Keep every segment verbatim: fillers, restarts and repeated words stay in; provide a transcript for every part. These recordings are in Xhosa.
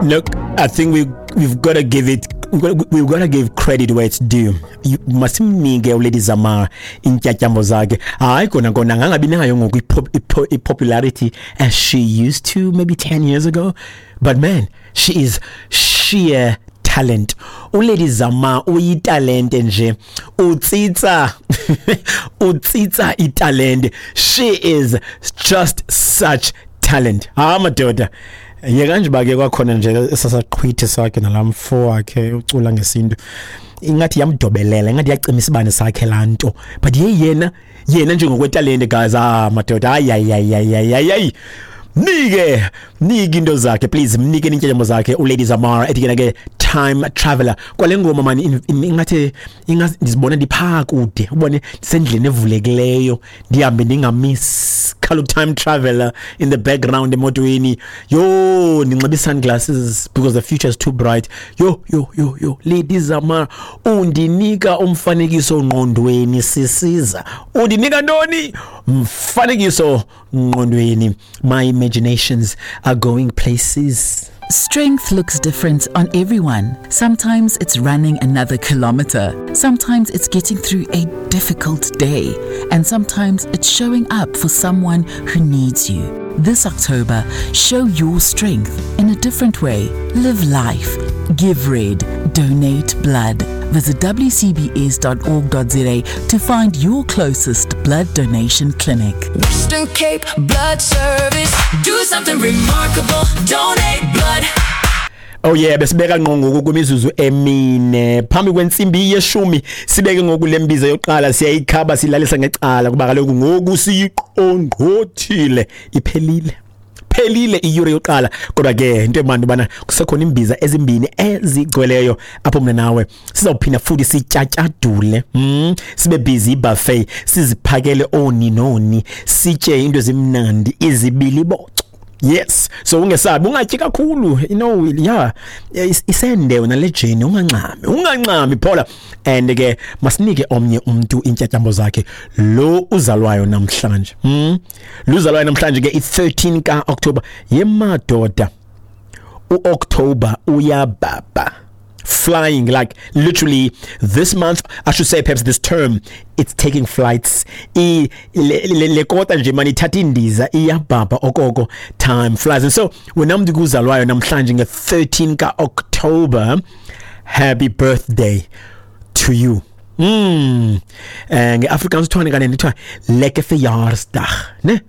Look, I think we we've got to give it we've got, we've got to give credit where it's due. You- Masimnike uLady Zamar intyatyambo zakhe. Hayi kona kona angangabi nayo ngoku ipo- ipo- i-popularity as she used to maybe ten years ago. But man, she is sheer talent. uLady Zamar uyitalente nje. Utsitsa utsitsa italente. She is just such talent. Ha madoda. Yeka nje bake kwakhona nje esasaqhwithe sakhe nalamfo wakhe ucula ngesintu. Ingathi yamdobelela, ingathi yacima isibane sakhe lanto. But ye yena yena nje ngokwetalente guys, ah madoda, ay ay ay ay ay ay. Mnike, mnike into zakhe please, mnike intyatyambo zakhe uLady Zamar ethi ke ke Time Traveler. Kwale ngoma mani ingathi ingathi ndizibona ndipha kude, ubone ndisendleleni evulekileyo, ndihambe ndingamiss khalo Time Traveler in the background emotweni. Yo, ndinxibe sunglasses because the future is too bright. Yo yo yo yo, Lady Zamar undinika umfanekiso ngqondweni sisiza. Undinika ntoni? Umfanekiso ngqondweni. My imaginations are going places. Strength looks different on everyone. Sometimes it's running another kilometer. Sometimes it's getting through a difficult day. And sometimes it's showing up for someone who needs you. This October, show your strength in a different way. Live life. Give red. Donate blood. Visit w c b s dot org dot z a to find your closest blood donation clinic. Western Cape Blood Service. Do something remarkable. Donate blood. Oh yeah, besibeka ngqo ngoku kwimizuzu emine phambi kwentsimbi yeshumi. Sibeke ngoku lembiza yokuqala, siyayikhaba silalisa ngecala kuba kaloku ngoku siyiqongqothile, iphelile phelile iyure yokuqala. Kodwa ke into emandi bana kusekhona imbiza ezimbini ezigcweleyo apho mina nawe sizawuphinda futhi sityatyadule, mm, sibe busy buffet, siziphakele oni noni, sitye into ezimnandi izibiliboco. Yes, so ungesabi, ungatyi kakhulu, you know, yeah, isende wena le jeni, ungancami, ungancami phola. And ke masinike omnye umuntu intyatyambo zakhe lo uzalwayo namhlanje. Mm. Lo uzalwayo namhlanje ke i-thirteen ka October. Yemadoda, uOctober uyababa. Flying, like literally this month, I should say perhaps this term, it's taking flights. I le le kota nje mani ithatha indiza iyababa okoko, time flies. And so wena mntu kuzalwayo namhlanje nge thirteen ka October, happy birthday to you. Mm. Eh ngeAfrikaans kuthiwa kanene kuthiwa lekker verjaarsdag, ne?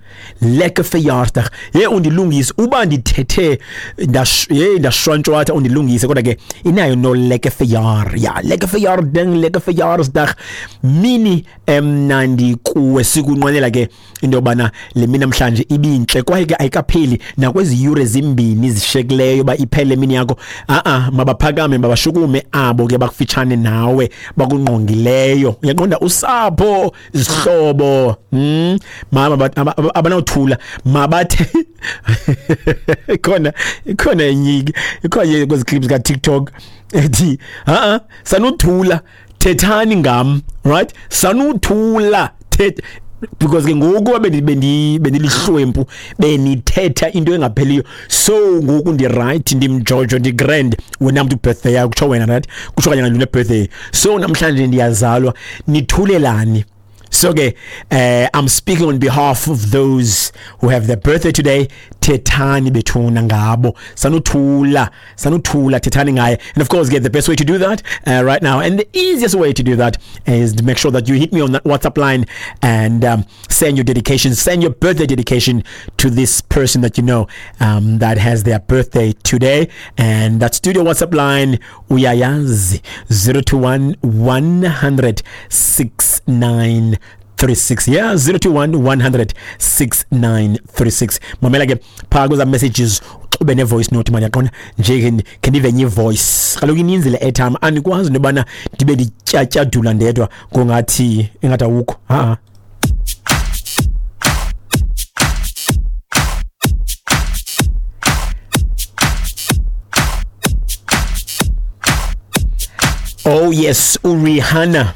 Lekker verjaarsdag. Ye undilungise uba ndithethe ndash ye ndashwantshwatha undilungise, kodwa ke inayo no lekker verjaar. Ja, lekker verjaardag, lekker verjaarsdag. Mini emnandi kuwe, sikunqwenela ke into yobana le mini namhlanje ibintle kwaye ke ayikapheli nakwezi yure zimbini zishekileyo ba iphele mini yakho. A a mabaphakame mabashukume abo ke bakufitshane nawe bakungqongi leyo, uyaqonda, usapho, izihlobo, mm mama abanothula mabathe ikhona ikhona enye ikhona kwezi clips ka TikTok ethi ha sanuthula thethani ngam, right? Sanuthula thet because ke ngoku bendi bendilihlwempu benithetha into engapheliyo, so ngoku ndi right, ndimjojo, ndi grand wena mntu birthday yakho kutsho wena, right? Kutsho kanye ngale birthday, so namhlanje ndiyazalwa, nithulelani. So ke uh, I'm speaking on behalf of those who have their birthday today. Thethani bethuna ngabo, sanuthula sanuthula thethani ngaye. And of course, get the best way to do that uh, right now, and the easiest way to do that is to make sure that you hit me on that WhatsApp line and um, send your dedication, send your birthday dedication to this person that you know um, that has their birthday today. And that studio WhatsApp line uyayazi, zero two one one hundred six nine three six. Yeah, zero two one one hundred six nine three six. Mamela ke phaa kweza messages ube ne voice note manje, yaqonda nje ke ndive nye voice. Kaloku ininzi le airtime, andikwazi nobana ndibe ndityatyadula ndedwa ngongathi ingathi awukho. Ha. Oh yes, uRihanna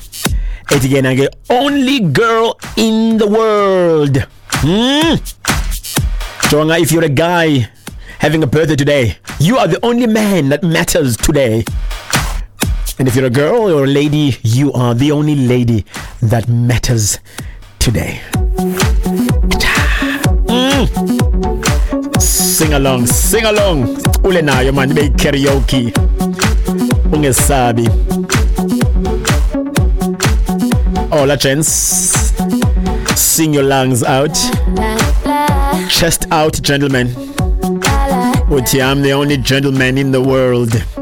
ethi ke na ke only girl in the world. Hmm. Jonga, if you're a guy having a birthday today, you are the only man that matters today. And if you're a girl or a lady, you are the only lady that matters today. Mm. Sing along, sing along. Ule nayo man, ibe karaoke. Ungesabi. Hola gents. Sing your lungs out. Chest out, gentlemen. Uthi I'm the only gentleman in the world.